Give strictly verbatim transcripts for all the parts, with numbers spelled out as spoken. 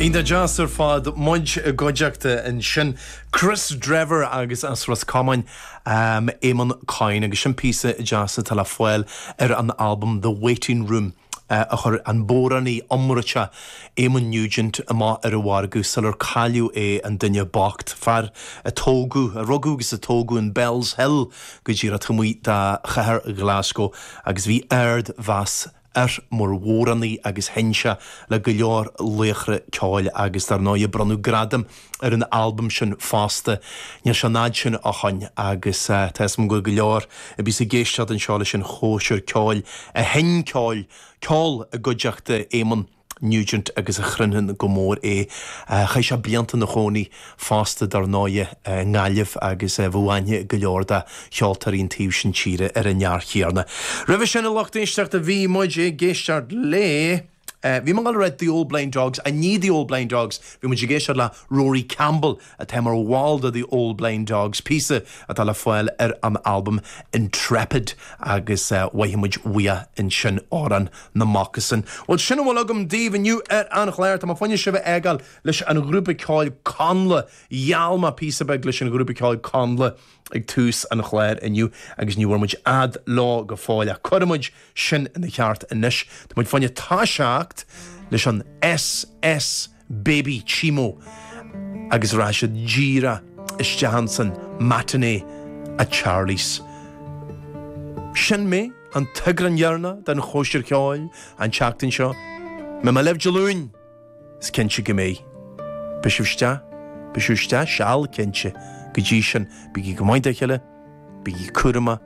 Iontach deas ar fad muid i gcuideachta ansin Kris Drever agus as Ros Comáin um, Eamon Coyne agus sin píosa deas atá le fáil ar an album The Waiting Room. Uh, a chuir an bodhránaí iomráiteach Éamonn Nugent amach ar an mhargadh sular cailleadh é an duine bocht fear a tógadh a rugadh agus a tógadh in Bellshill go díreach taobh amuigh de chathair Glasgow agus bhí ardmheas air mar bhodhránaí agus sheinn sé le go leor laochra ceoil agus dar ndóigh bronnadh gradam ar an albam sin fosta. Níl sé an fhad sin ó shin agus uh, tá go go leor a bhí ag éisteacht anseo leis an chóisir ceoil a sheinn ceol ceol i gcuideachta Éamonn Nugent agus a chruinneann go mór é Chaith sé blianta ina chónaí fosta dar ndóigh i nGaillimh agus bhí aithne go leor de cheoltóirí an taobh sin tíre ar an fhear céanna. Roimhe sin a lucht éisteachta bhí muid ag éisteacht le. Uh, bhí mar le The Old Blind Dogs a ní The Old Blind Dogs, bhí muid ag éisteacht le Rory Campbell atá mar bhall de The Old Blind Dogs píosa atá le fáil ar an album Intrepid agus uh, mhaith muid ansin amhrán na Moccasin. Well sin a bhfuil agam daoibh inniu ar an chlár Tá fáinne sibh a fhágáil leis an ghrúpa ceoil Connla gheall mé píosa beag leis an ghrúpa ceoil Connla ag tús an chláir inniu agus ní bhfuair muid fhad leo go fóill a cuirfidh muid sin ina cheart anois. Tá muid fáinne toiseacht leis an SS Baby Chimo agus rachaidh siad díreach isteach san matinee at Charlie's. Sin mé an t-eagrán deireanach den chóisir ceoil an tseachtain seo, Beidh mé libh Dé Luain is cinnte go mbeidh. Beidh sibh isteach, beidh sibh isteach seal cinnte go dtí sin bígí go maith dá chéile, bígí cúramach,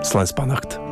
slán is beannacht.